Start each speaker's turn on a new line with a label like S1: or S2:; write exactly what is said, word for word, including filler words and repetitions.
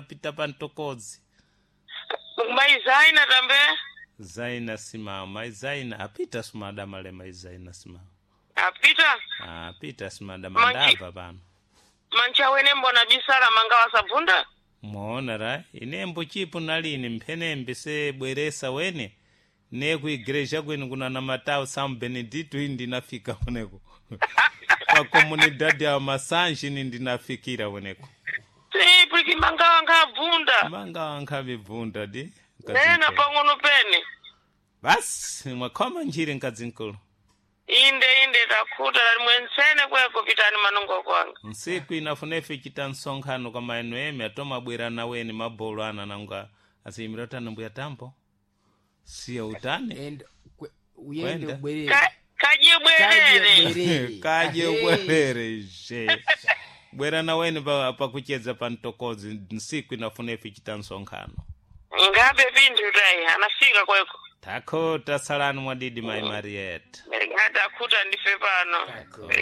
S1: Pita pa Ntokozi.
S2: Mai Zaina tambe.
S1: Zaina Simao, mai Zaina apita sumadamale mai Zaina Simao.
S2: Apita.
S1: Apita sumadama
S2: Manchi-
S1: ndabva pano.
S2: Mancha wene mbona bisala manga wasabvunda.
S1: Mwaona ra inembo chipo nalini mphenembe se bweresa wene ne ku igreja kwenu kuna namatao São Benedito ini ndinafika weneko pa comunidade ya Masanji ini ndinafikira weneko
S2: Si puliki manga wanga abvunda.
S1: manga wankhavibvunda di
S2: Nena pang'ono pene.
S1: basi mwakhoma njiri mkadzinkulu
S2: Inde inde takhuta lali mwensene kweko pitani manongo kwanga.
S1: nsiku inafunefe chita msonkhano kwa maeno eme atomabwera naweni mabolo ana nanga asiyimira utani mbuya tambo siya utani
S3: Enda kwe- uyende
S1: Kwenda.
S3: ubwerere
S2: Ka- Kaje bwerere.
S3: bwerere.
S1: kaje
S3: Ahe.
S1: ubwerere je bwera naweni pa- pakuchedza pa mtokozi nsiku inafunefe chita msonkhano
S2: Ngabe pinthu tayi anafika kweko.
S1: takho tasalani mwadidi mai marieta
S2: Takhuta ndife pano.
S3: Takho.